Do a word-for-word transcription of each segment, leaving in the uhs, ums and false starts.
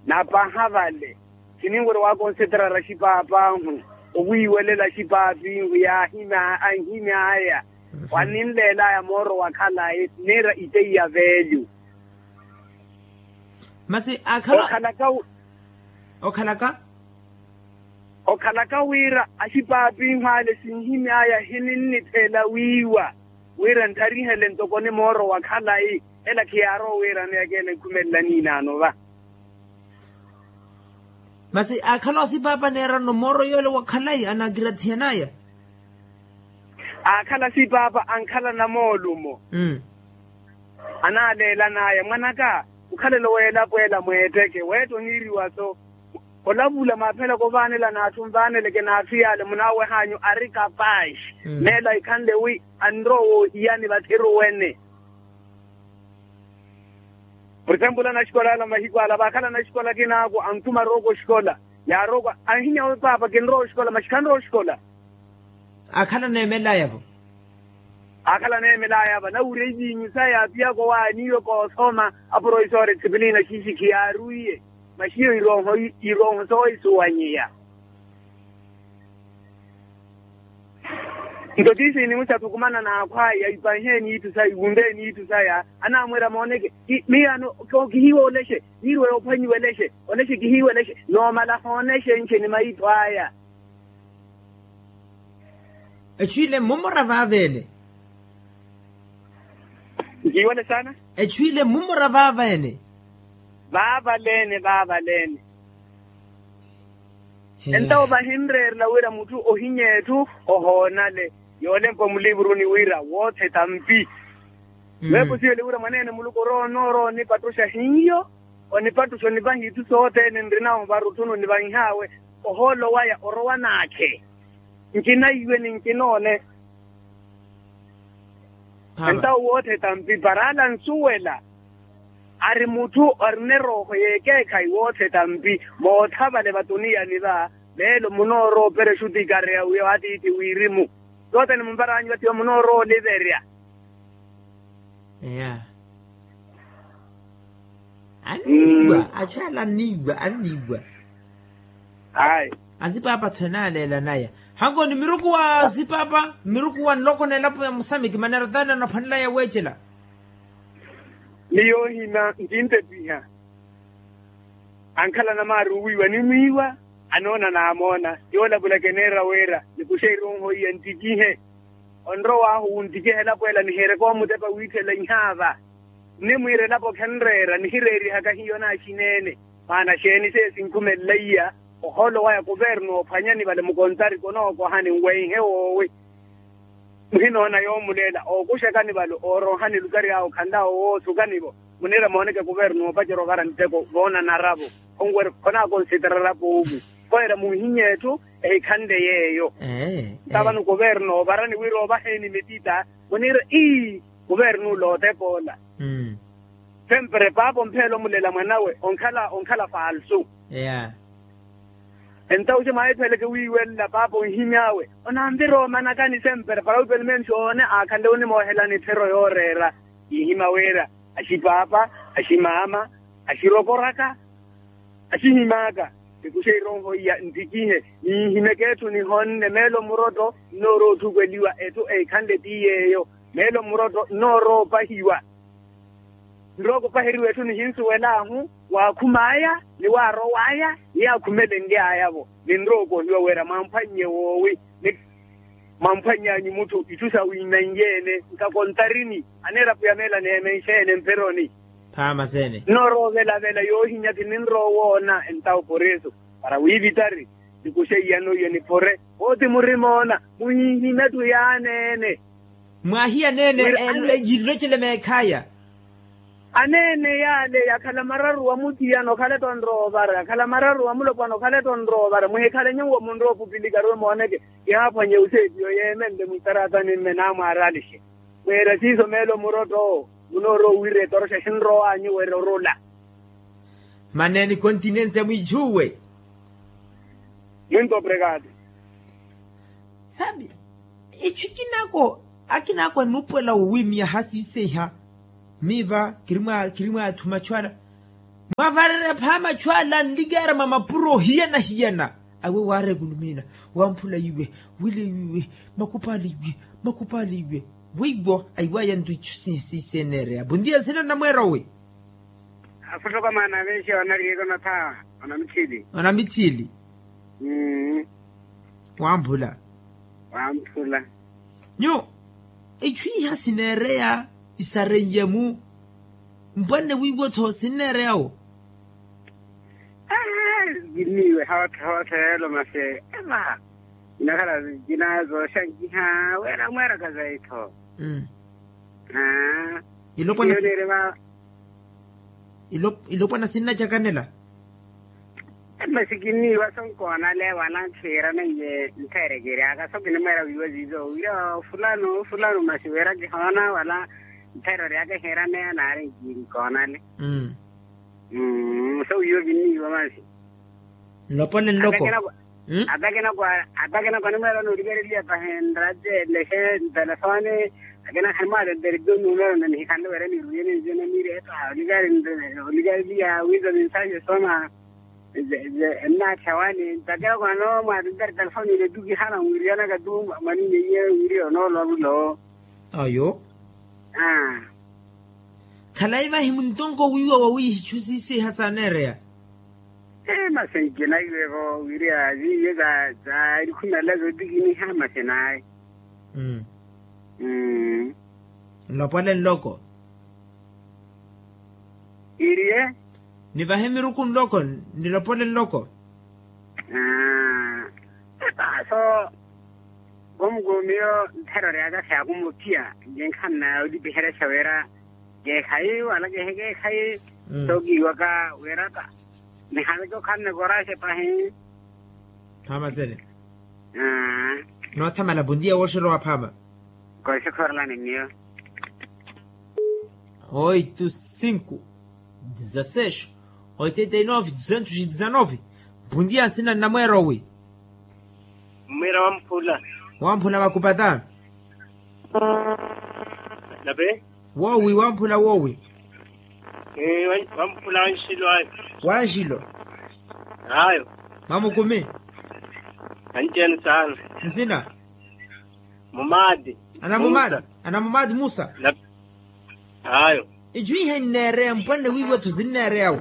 Napaha vale, khininwerya wakonseterara axipaapahu, owiiwelela axipaapihu yaahimya anhimy'aya. Waninleelaya mooro wa khalayi niira iteiya veelyu. Masi akhala okhalaka. Okhalaka wira axipaapihu ale sinhimy'aya hininnitheela wiiwa, wira ntharihele ntoko ni mooro wa khalayi. Ela khiyaarowa wiirana yakeela nkhumelela niinaano va. Masi akhala osipaapa neerano mooro yoole wa khalayi anakirathiyan'aya. Akhala sipaapa ankhala namoolumo. Anaaleelan'aya mwan'aka, okhalela oweelapo ela mweetteke weetta oniiriwa-so. Olavula mwaaphela kovaanela n'atthu nvaaneleke n'atthu yaale munaaweh'anyu ari kapaxi. Meelo ahikhanle wi anrowa oohiyani vathiruwene. Purtempulu anaxikola ala mahiku ala vaakhala anaxikola akinaako anthuma arooko oxikola. Yaarooko anhimya we paapa kinrowa oxikola maxi khanrowa oxikola. Akhala neemelaya-vo. Akhala neemelaya-va nawurya iviinyu saya apiyaka owaaniiwe koothoma. Aprovisora etipilina xiixi khiyaaruiye. Maxiyo irooho soohisuwanyiya. Nto tiisi inimusa athukumana n'akhwaya ipanheeni itthu saya iwunteeni itthu saya. Anaamwira mooneke miyaano kihiiwa olexe. Yiirwe yoophwanyiwa elexe. Olexe kihiiwa elexe noomala hoonexe nce ni maitho aya. Echu ile mmumura vaavene. Nkiiwale saana. Echu ile mmumura vaavene. Vaavaleene vaavaleene. Entawo vahinreerela wira mutthu ohinye etthu ohoonale. Yoolempa mulivuruni wira wootheta mpi. Weepo siyole wira mwaneene muluku orowa onoorowa onipattuxa hiyo. Onipattuxa onivaha itthu sothene nrinahu varutthuni onivanh'awe. Ohoolo waya orowa naakhe. Nkinaiwe ni nkinoone. Entawo wootheta mpi para ala ansuwela. Ari mutthu arina erooho y'ekeekhayi wootheta mpi. Mootha vale vatuniyani va meelo munoorowa operexa otikareya wiyo atiithi wirimu. Sothene mumvaranyu vathiwa munoorowa oliverya. Eya. Anniiwa achu ala anniiwa anniiwa. Ayi. Asipaapa-tho enaaleelanaya. Hanko ni miruku wa asipaapa miruku wa nloko n'elapo ya musamiki maneera taani anaphwanelaya weecela. Ni yoohina nkintepiha. Ankhala anamaari owiiwa animwiiwa. Anoona naamoona. Yoolavulaka eneera wira nikuxe ironho iya ntikihe. Onrow'ahu wuntikiha elapo ela nihiireke omutepa wiithela ihaava. Nnimwiira elapo khenreera nihireerihaka hiyo naaxineene. Maana xeeni seiyo sinkhumelela iya. Ohoolo waya kuvernu oophwanyani vale mukontariki onookohani nwenhe woowi. Muhinoona yoomuleela ookuxakani vale oorohani lukari awo khanlawo woosukani-vo. Muniira mooneke kuvernu oopacerya ovara nteko voonanara-vo. Khonaakonsitarara pooku. Koyera munhinye etthu ehikhanle yeeyo. Nta vano kuvernu oovarani wira ovaheeni mitita. Muniira ii kuvernu lootepa ola. Sempre paapa ompheela omulela mwanawe onkhala onkhala falsu. Entawo oxe mwaahipheleke wiiwelela paapa onhimy'awe onanvira omanakani sempre para wi pelo menos oone aakhanle onimoohelani etthero yooreera. Kiihima wira axipaapa aximaama axirokoraka axihim'aka. Nikuxe ironho iya ntikihe niihimeke etthu nihonne meelo mmurotto nnoorowa otthukweliwa etthu ehikhanle ti yeeyo. Meelo mmurotto nnoorowa opahiwa. Nrowa okupaheriwa etthu nihinsuwel'ahu waakhum'aya ni waarow'aya ni yaakhumelenly'aya-vo. Ninrowa okohiwa wira mwamphwannye woowi ni mwamphwanny'anyu mutthu itthu sawinanyeene nkakontarini aneerapo ya meela neemenxeene mperoni. Nnoorowa ovelavela yoohinya kininrowa owoona entawo poreso para wiivitari. Nikuxe iyano iyo nipore. Ooti murimoona muhihimetu yaaneene. Mwaahiya aneene yilocele meekhaya. Aneene yaale yakhala mararu wa muthiyana okhaleto onrowa ovara yakhala mararu wa mulopwana okhaleto onrowa ovara muhikhalenye uwo munrowa opupilika aruwe mooneke. Kihaaphwanye useepiyo yeemenle mwitaratani mme naamwaaralixe. Mweera siiso meelo murotto munoorowa owira etoroxa xinrow'anyu wira orula. Mane ni continencia mwiichuwe. Muito obrigado. Sabi ichu ikinaako akinaako anuupuwela wowiimiya hasiiseiha. Miiva kiri mwaathuma achu ala. Mwavarerya phaama achu ala anlikaara mwa mapuro ohiyana-hiyana. Awe waara ekulumina, wamphula iwe, wile iwe, makupaali iwe, makupaali iwe. Weiwo aiwaya nto ichu sinsisi eneereya bontiya nsina nnamweera owi. Afuttoko maana aveexiwa onariyeeka onatha. Onamitthili. Onamitthili. Wamphula. Wamphula. Nyu, ichu iha sineereya isareiye-mu. Mpwanne wiiwo-tho sinneereya-wo. Kinniiwe hoothe hoothe yeelo masi eva. Inakhala zina zooxankiha wira mweeraka zayi-tho. Ilopwana sinnacakanela. Masi kinniiwa sonkoonale wala nkhiirana iye nttheere kiryaka so kinimweera wiiwa ziizo wira fulano fulano masi wira kihoona wala nttheere oryaka ehiirana eya naari nkiiri nkoonale. So wiiwa kinniiwa masi. Nlopole nloko. Atakinako animweera noolikareliya pahi nraje nlexe ntelefone. Akina khani mwaatenteri tu numero nanihikhanle wira niruye ninzene niiri epa olikari. Olikareliya wiiza ninsaxe soma. Ennaattha wani ntakira kwano mwaatenteri telefone ile tu kihana mwiriyanaka tu. Mwanini iye wiriya onoolwa mulo. Ayo. Khalayi vahi muntonko wiiwa wawiihi ichu siisiha saaneereya. Masi nkinaiweko wiriya ziiye za za elikhumela zootikiniha masi naye. Nlopole nloko. Iriye. Nivahe miruku nloko. Nilopole nloko. Epa so. Komukomiyo ntthero ryaka khyakumuttiya. Nkinkhanna olipiheresya wira keekhayi wala kehe keekhayi. So kiiwaka wira ta nihaleke okhanne koraxe pahi. Phaama sene. Noothamala bontiya wooxerowa phaama. Koxekhorelani miyo. Oito cinco dezasseis oitenta e nove duzentos e dezanove. Bontiya nsina nnamweera owi. Mmwira wamphula. Wamphula vakupata. Nape. Woowi wamphula woowi. Wamphula wanxilo ayo. Wanxilo. Ayo. Mamukumi. Anci enu saana. Nsina. Mumaati. Anamumaati musa. Ayo. Icu iha inneereya mpwanne wiiwa-tho sinneereya-wo.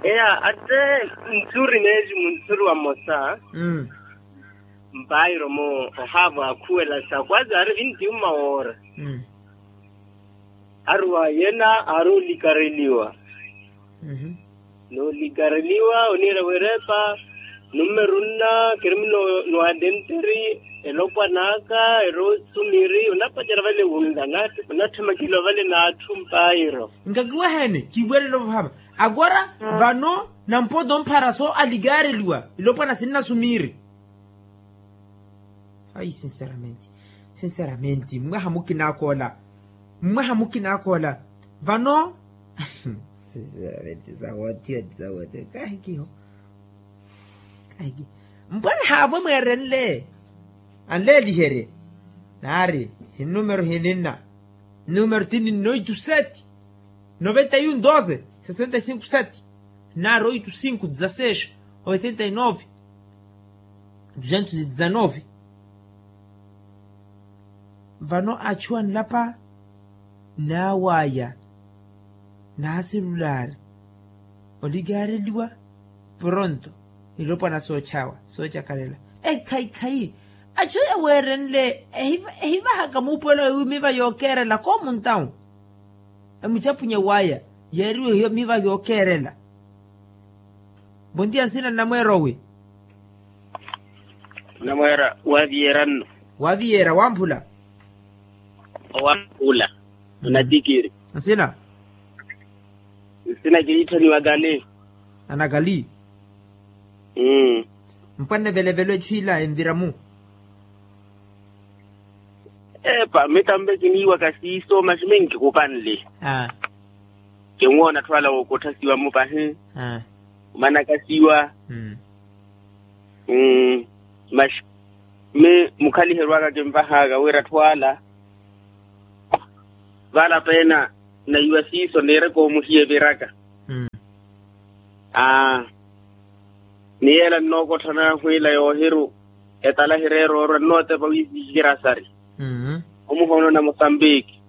Eya ate nthuri neeji munthuri wamosa. Mpairo-mo ohaavo akhuwela sa kwazi ari vinti uma woora. Aruwa yena ari olikareliwa. Noolikareliwa oniira wirepa. Nummeru nna kirimi nwatenteri elopwan'aka eri osumiri onapacerya vale wunla. Onatthemakeliwa vale n'atthu mpairo. Nkakiwahene kiiwerele ovahama. Agora vano nampoto mphara so alikareliwa. Ilopwana sinnasumiri. Ai sinceramente. Sinceramente mmwaha mukinaakoola. Mmwaha mukinaakoola. Vano sinceramente sawothiwa ti sawothiwa kahikiho. Kahikiho. Mpwana haavo mweerenle anleeliherye. Naari hinnumero hininna. Numero ti ninna oito sete noventa e um doze sessenta e cinco sete. Nari oito cinco dezasseis oitenta e nove duzentos e dezanove. Vano achu anlapa naawaya naaselulari olikareliwa. Pronto ilopwana soochawa soochakalela. Ekhayi khayi achu yaweerenle ehivahaka muupuwelo ewi miva yookeerela koomuntawu. Emuchapunya waya yeeriwe hiyo miva yookeerela. Bontiya nsina nnamweera owi. Nnamweera waviyeera nno. Waviyeera wamphula. Owamphula. Onatikiri nsina. Nsina kiriitthaniwa kali. Anakali. Mpwanne velevelo echu ila envira-mu. Epa mitampe kiniiwaka siiso masi minkikupanle. Kinwoona atthu ala wookothasiwa-mu pahi. Omanakasiwa. Masi mi mukhaliheryo aka kinvahaka wira atthu ala vala peena naiwa siiso niireke omuhiya eviraka. Aa. Ni yeela nnookotthana hwiila yoohiru etala hireera orwa nnootepa wiisikikira sari. Omuhoona na mosambiki.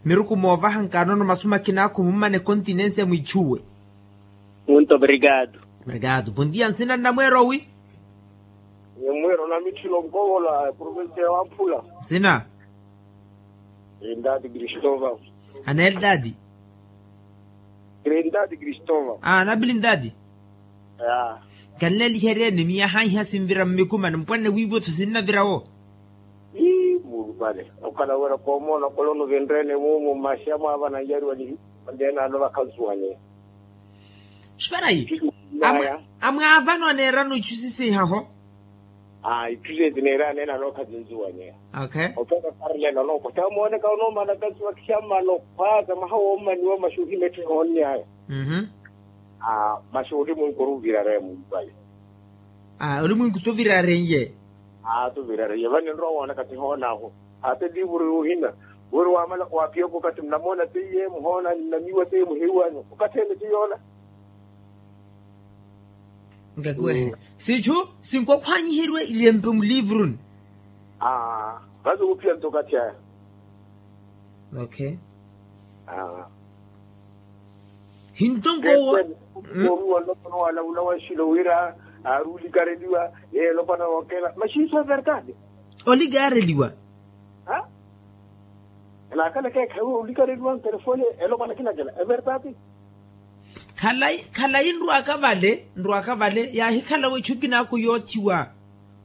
Miruku moovaha nkanono masu makinaakhu mummana ekontinensia mwiichuwe. Munto obrigado. Obrigado bondia nsina nnamweero wi? Nnamweero na mitthilo nkovola provincia ya wamphula. Nsina? Trindade cristóval. Ana eldade? Trindade cristóval. Ana bilindade. Kanleeliheryeni miyaha iha sinvira mmikumani mpwanne wiivo-tho sinnavira-wo. Ii muulupale okhala wira koomoona okhala onuvinreene muumu mmaxi amwaavana nyariwa ni. Ondeene ano vakhansuwanye. Xiparayi. Amwaavana oneerana ichu sisiihaho. Itthu seti neerana ena nookhazinzuwanyeya. Opeka karlena onoopotta amooneka onoomana kasuwa khiyammana okhwaaka mwaha woommaniwa maxuuhi metthe hoonnyaya. Maxuuhi mwinki oruvirareye mumpale. Oli mwinki tuvirareye. Tuvirareye vani nrowa woonaka tihoon'ahu. Hata eliivuru y'ohina wiri waamala waaphiyaka okathi nnamoona teiye muhoona nnamiwa teiye muhiiwanyu okathi ene ti yoola. Nkakiwehe sitthu sinkwakhwanyiheriwa irempe muliivuruni. Vathi wuphiya nto okathi aya. Okay. Hintonko wo. Woomiwa nlopwana wala wula wanxilo wira aari olikareliwa. Yeeyo nlopwana wookela maxiiso evertade. Olikareliwa. Naakhala ekeekhayi olikareliwa ntelefoni. Elopwana kinakela evertade. Khalayi khalayi nrwaka vale nrwaka vale yaahikhalawe ichu kinaako yoothiwa.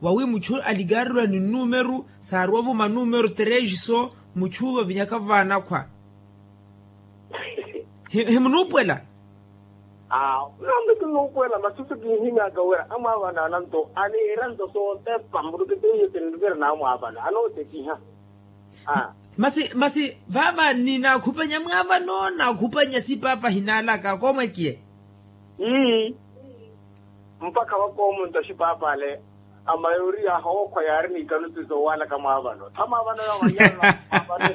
Wawi muchu alikareliwa ni nnumeru saaruwa ovuma nnumeru terexiso. Muchu vavinyaka vaanakhwa. Himunuupwela. Nambi kinuupwela masi si kinhimyaka wira amwaavana ananto aniira nto sootepa mburuki teiyo tinrikiri na amwaavana anootekiha. Masi masi vaava ninaakhupanya mwaavano naakhupanya sipaapa hinaalaka koomwekiye. Ii. Mpakha vakoomunta xipaapale amayori yaaha ookhwa yaari n'ikanuti zoowalaka mwaavano tha mwaavano yoowa yaari mwaavano.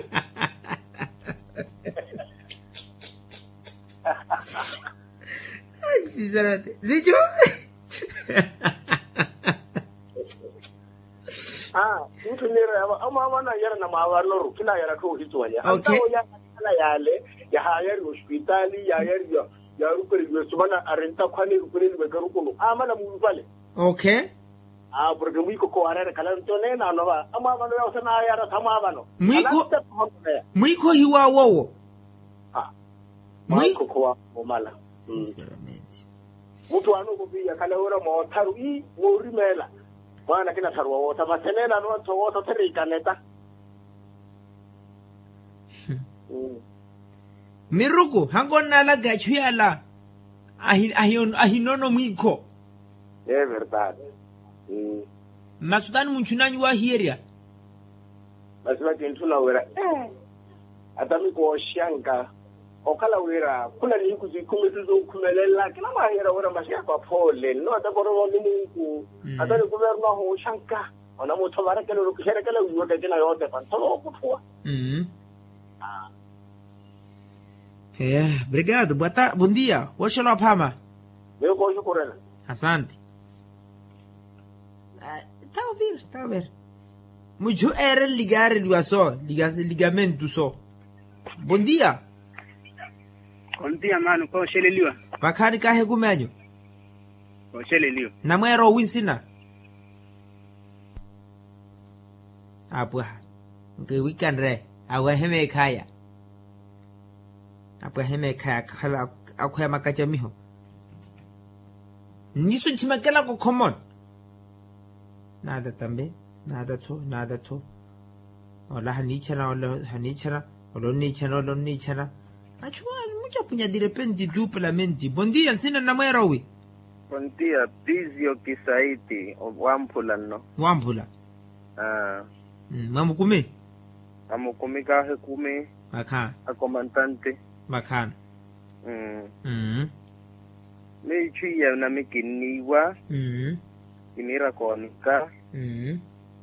Sicho. Muthu niira yava amwaavano anyara na mwaavanoru khinayara tthoohituwanya antawo yaakhala yaale. Yahaayariwa ospitaali yaayariwa. Yaarupereliwe sumana ari ntakhwani erupereliwe ekarukulu aamana muulupale. Okay. Porke mwiikho khoowareera ekhala nto neene anova amwaavano yawo sanaayara tha mwaavano. Mwiikho hiwaawowo. Mwiikho khoowawowo omala. Sinceramente. Mutthu aana okopiya khale wira mootharu ii woorimeela. Mwaana akina tharuwa wootha masi eneene anova ntho wootha othera ikaneta. Miruku hankoonnaalaka echu yala. Ahinono mwiikho. Ee verdade. Masi otaani munchun'anyu waahiyerya. Masi vakintthuna wira ee. Ata mikooxanka okhala wira khula nihiku sikhumitu zookhumelela kinamwaahiyerya wira maxiyako aphoole nno ata korovo ni munku. Ata nikuverno ahooxanka. Onamutho varekela olokiherekela wiiwaka ekina yootepa ntho nookutthuwa. Ee. Obrigado bondia wooxela ophaama. Miyo kooxukurela. Asante. Thawa ovira thawa ovira. Muchu eere likaareliwa so. Likamentu so. Bondia. Ontiya maano kooxeleliwa. Vakhaani kaahekume anyu. Kooxeleliwa. Namweero owi nsina. Apwaha nkiwikanre. Awehe meekhaya. Apwahe meekhaya akhala akhweya makacamiho. Nniso nchimakelaka okhomona. Naata tambe. Naata tho naata tho. Ola haniichana ola haniichana. Ola onniichana ola onniichana. Achuwa muchapunya direpenti tuupalamenti bondia nsina nnamweera owi. Bondia pizio kisaiti. Wamphula nno. Wamphula. Mwamukumi. Mwamukumi kaahekumi. Vakhaana. Akomantante. Vakhaana. Miyo ichu iya nami kinniiwa. Kiniira koonika.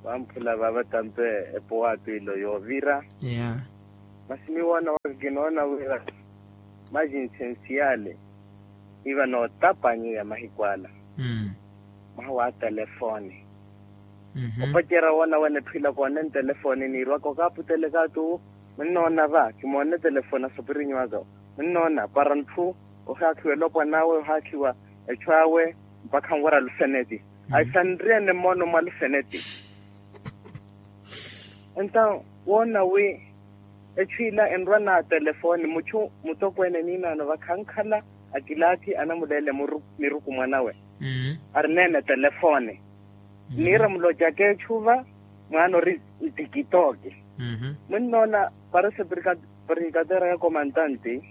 Vamphula vaava tampe epowa apilo yoovira. Masi miyo waana waka Kinoona wira maxi nsensiyaale iva nootapanyiya mahiku ala mwaha wa telefoni. Opacerya woona wene etthu ila koone ntelefoni niirwaka okaaputeleka atu. Munnoona va kimoone telefoni asopirinyu aka. Munnoona para ntthu ohaakhiwa elopwana awe ohaakhiwa echu awe mpakha nwerya luseneti. Ayi sanriyene mmono mwa luseneti. Entaw woona wi echu ila enrwa na telefoni muchu mutokweene niinaano vakhankhala akilaathi anamuleele miruku mwanawe arineene telefoni. Niira mulocaka echu va mwaana ori ntikitooki. Munnoona para se brigadier ya komantanti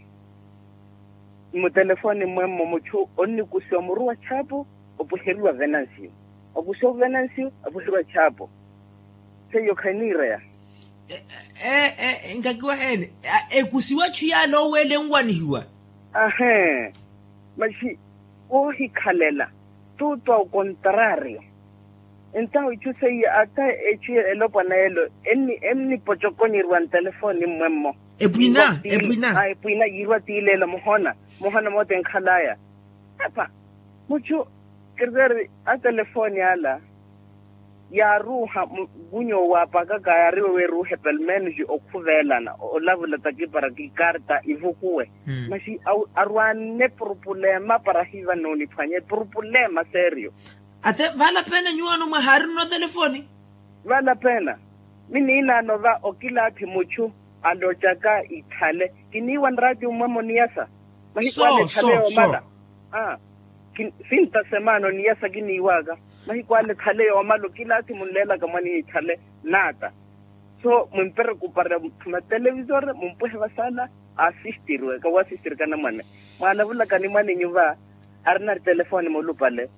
mmutelefoni mmwemmo muchu onnikusiwa muru wa chaapu opwiheriwa venansiyo. Okusiwa venansiyo apwiheriwa chaapu. Seiyo khaniireya. Nkakiwa ene ekusiwa chu yaale oweele enwanihiwa. Ahee. Maxi woohikhalela tuutu ao kontraario. Entaw ichu seiye ata echu elopwana elo ennipochokonyeriwa ntelefoni mmwemmo. Epwina epwina yiirwa tiileelo muhona muhona moote enkhalaya. Apa muchu kirteri atelefoni ala yaaruuha mukunyo waapakaka yaariwe wiiruuhe pelmenus okhuveelana olavula takipara kikarta ivukuwe. Maxi arwaane purupulema para hiiva nooniphwanya epurupulema serio. Ate vala pena nyuwaano mwahaari nno telefoni. Vala pena mi niinaano va okilaathi muchu alocaka ithale kiniiwa nraatiyo mmwemo niyasa. Mahiku ale ithale yoomala. Sinta semaano niyasa kiniiwaka. Mahiku ale ithale yoomala okilaathi munleelaka mwaninyu ithale naata. So mwimpere kupara mutelevisore mumpwehe vasala. Asistiriwe kawaasistirikana mwane. Mwaalavulaka ni mwaninyu va arina telefoni mulupale.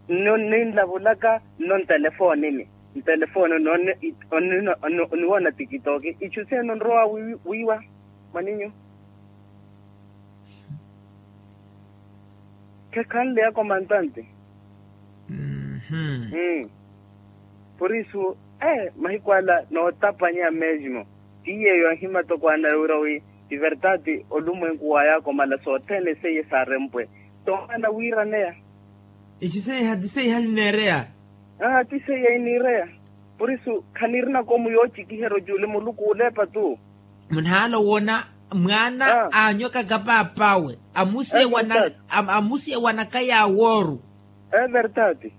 Nno ninlavulaka nno ntelefonini. Ntelefoni onniwoona tikitoki ichu seeni onrowa wiiwa mwaninyu. Khekhanle ya komantante. Por isu mahiku ala nootapanya mesmo. Ti yeeyo anhimata okwaana wira wi ti verdade olumwenku wa yakomala sothene seiye saarempwe. Toomana wiiraneya. Ici seiha ti seiha nineereya. Aa ti seiya iniireya. Por isu khaniirina komu yoocikiherya ocuule muluku ooleepa tu. Munhaala owoona mwaana aanywakaka paap'awe amusiyewanaka yaawooru. Everdade.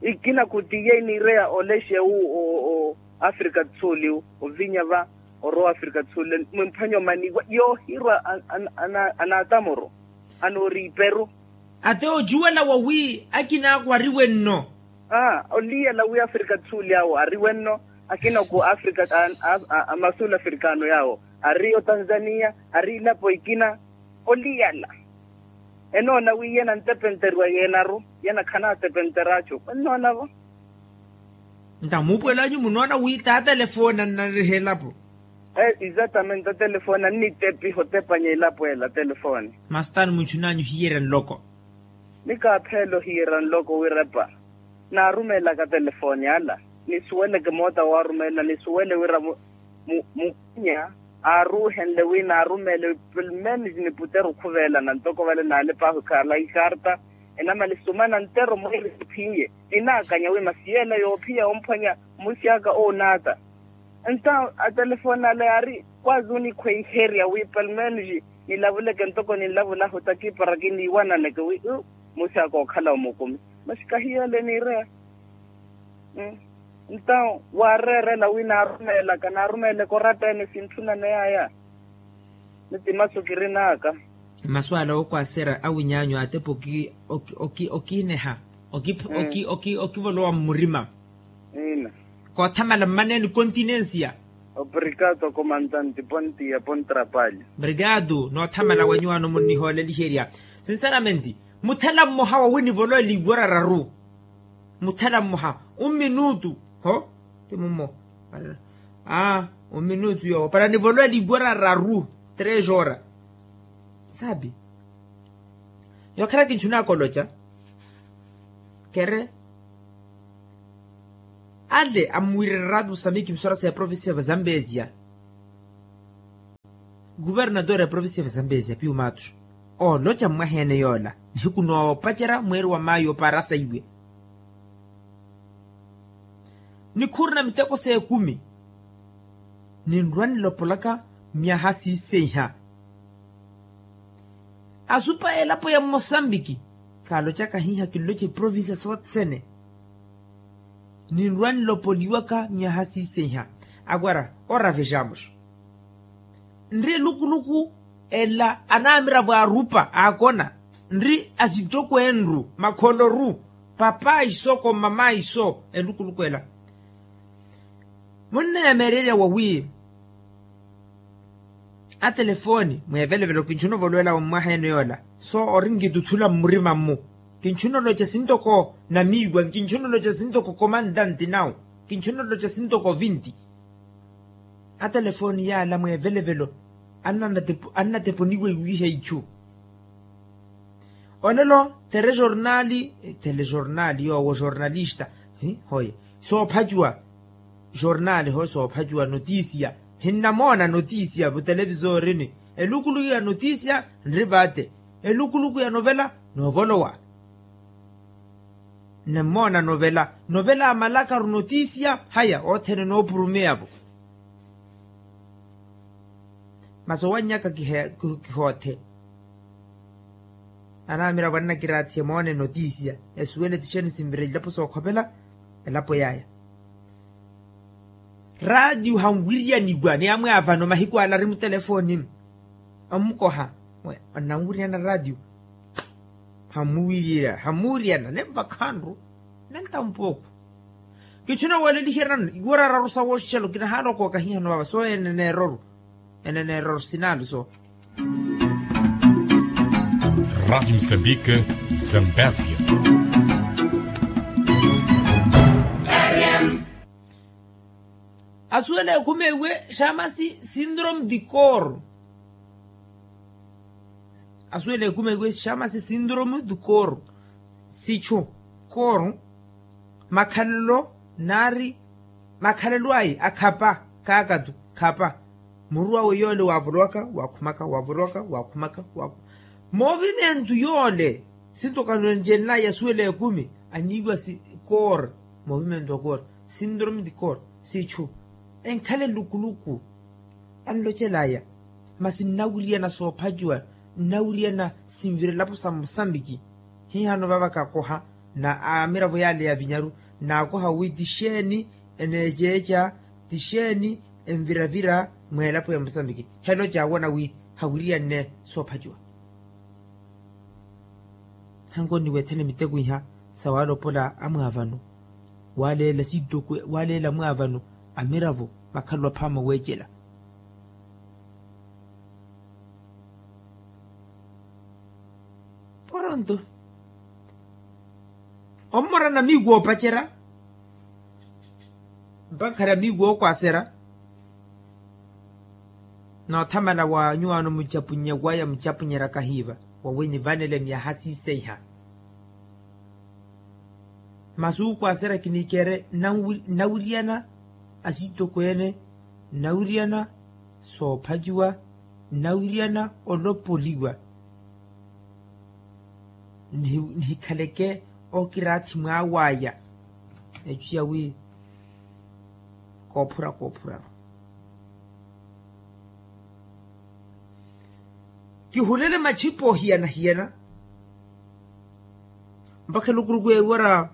Ikina khutiye iniireya olexe wu o afrika do sul ovinya va orowa afrika do sul. Mwimphwanya omaniwa yoohirwa anaatamoro anooriiperu. Ate ocuwela wawi akina akhu ariwe nno. Aa oliyela wi afrika do sul yaawo ariwe nno. Akina ku afrika amasul afrikano yaawo ari otanzania ari ilapo ikina. Oliyela enoona wi yena antepenteriwa yenaru yena khanatepenteracu ennoonavo. Nta muupuwelanyu munoona wi taatelefoni annanriha elapo. Exatamente atelefoni annitepiha otepanya elapo ela atelefoni. Masi taani munchunanyu hiyerya nloko. Ni kaapheela ohiyerya nloko wirepa naarumeelaka telefoni ala nisuweleke moota waarumeela nisuwele wira mukunya aaruuhenle wi naarumeele pelmenos niputere okhuveelana ntoko vale naalep'ahu ekhala ikarta enamale sumana ntero mweeri ephiye ninaakanya wi masi yeela yoophiya omphwanya mmusi aka oonaata. Entaw atelefoni ale yaari kwaazi onikhweiherya wi pelmenos nilavuleke ntoko ninlavulahu takipara kiniiwananeke wi mmusi aka ookhala omukumi. Masi kahiyo ele niireya. Entaw waareerela wi naarumeelaka naarumeeleke oratta ene sintthunaneyaya. Ni ti masu kirin'aka. Masu ala ookwaserya awinyaanyu atepa okiineha okivolowa mmurima. Koothamala mmaneeni continencia. Obrigado comandante pontia pontrapalho. Obrigado noothamala wenyuwaano munnihooleliherya. Sinceramente muthela mmoha wawi nivolowa eliiwara raru. Muthela mmoha umminutu ho ti mummo. Aa umminutu yoowo para nivolowa eliiwara raru tres hora. Sabi yookhera kinchunaka oloca kere ale amuwirira rato musamiki msora sa ya provincia va zambezia. Kuvernatore ya provincia ya zambezia piumaattu ooloca mmwaheene yoola nihiku noopacerya mweeri wa maayo oparasa iwe. Nikhurina miteko s'ekumi ninrwa nilopolaka myaha siiseiha. Asupa elapo ya mmosambiki kaalocaka hiiha kinloce provincia sothene. Ninrwa nilopoliwaka myaha siiseiha. Agora ora vejamos. Nri elukuluku ela anamiravo arupa akona nri asitoko enru makholoru. Papa iso ko mama iso elukuluku ela. Munneyameererya wawi atelefoni mwevelevelo kinchuna ovolowela wa mmwaha ene yola. So ori nkituthula mmurima mmu kinchuna oloca sintoko namiiwa kinchuna oloca sintoko komantanti nawu. Kinchuna oloca sintoko vinti. Atelefoni yaala mwevelevelo annateponiwa iwiiha ichu. Olelo telejornali telejornali yoowo jornalista. Hoye soophacuwa jornali hoye soophacuwa notisia. Hinnamoona notisia vutelevisorini elukuluku ya notisia nri vaate. Elukuluku ya novela noovolowa. Nnemmoona novela novela amalakaru notisia haya othene noopurumeya-vo. Masi owannyaka kihoothe. Anamiravo annakiraathiye moone notisia asuwele tixeeni sinvira ilapo sookhopela elapo yaya. Raatiyo hanwiriyaniwa ni amwe avano mahiku ala ari mutelefoni. Omukoha onnanwiriyana raatiyo. Hamuwiriyana hamuwiriyana nenvakhanru. Nentampooku. Kichuna waleliherya nano iwara araru sa woxixelo kinahaala okooka hihano vava so ene neeroru. Ene neeroru sinaalu so. Rádio Moçambique, Zambésia. Asuwela ekhumewe xamasi sindrome di cor. Asuwela ekhumewe xamasi sindrome di cor. Sichu cor makhalelo naari makhalelo ayi akhapa. Kaakatu khapa muru awe yoole waavolowaka waakhumaka waavolowaka waakhumaka. Movimentu yoole sinto kanwencelela yasuwela ekumi aniiwa si koor. Movimentu wa koor sindrome di koor sichu enkhala elukuluku. Anlocelaya masi nnawiriyana soophaciwa nnawiriyana sinvira elapo sa musambiki. Hihano vava kakoha na amiravo yale ya vinyaru naakoha wi tixeeni eneeceeca tixeeni enviravira mweelapo ya musambiki. Helo caawona wi hawiriyanne soophaciwa. Hanko niwethene miteko iha sa waalopola amwaavano waaleela siitokwe waaleela amwaavano amiravo makhalelo aphaama weecela. Poronto ommora namiiku oopacerya mpakha namiiku ookwasera. Noothamala wa nyuwaano mucapunye waya mucapunyerya kahiiva wawe nivanele myaha siiseiha. Masi ukwasera kinikere nnawiriyana asiitokweene nnawiriyana soophaciwa nnawiriyana olopoliwa. Nihikhaleke okiraathi mwaawaya echu yawi koophura koophuraru. Kihulele machipo hiyana hiyana mpakha elukuruku eewiwa ra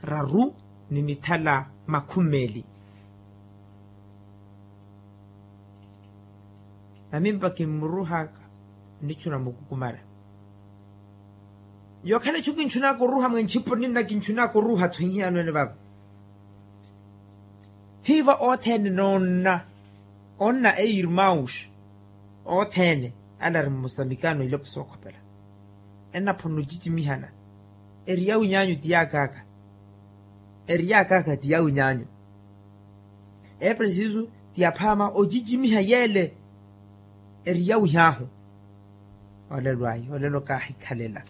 raru ni mithala makhumeli. Namimpa kimmuruhaka onichuna mukukumala yookhala echu kinchunaka oruha mwenchipo ninna kinchunaka oruha-tho hihiyano ene vava. Hiiva othene noonna onna eirmaus othene ala ari mmusamikano ilapo sookhopela. Ennaphona ocicimihana eri yawi nyaanyu ti yaakaaka. Eri yaakaaka ti yawi nyaanyu. Epresisu ti aphaama ocicimiha yeele eri yawi haahu. Olelo ayi olelo kaahikhalela.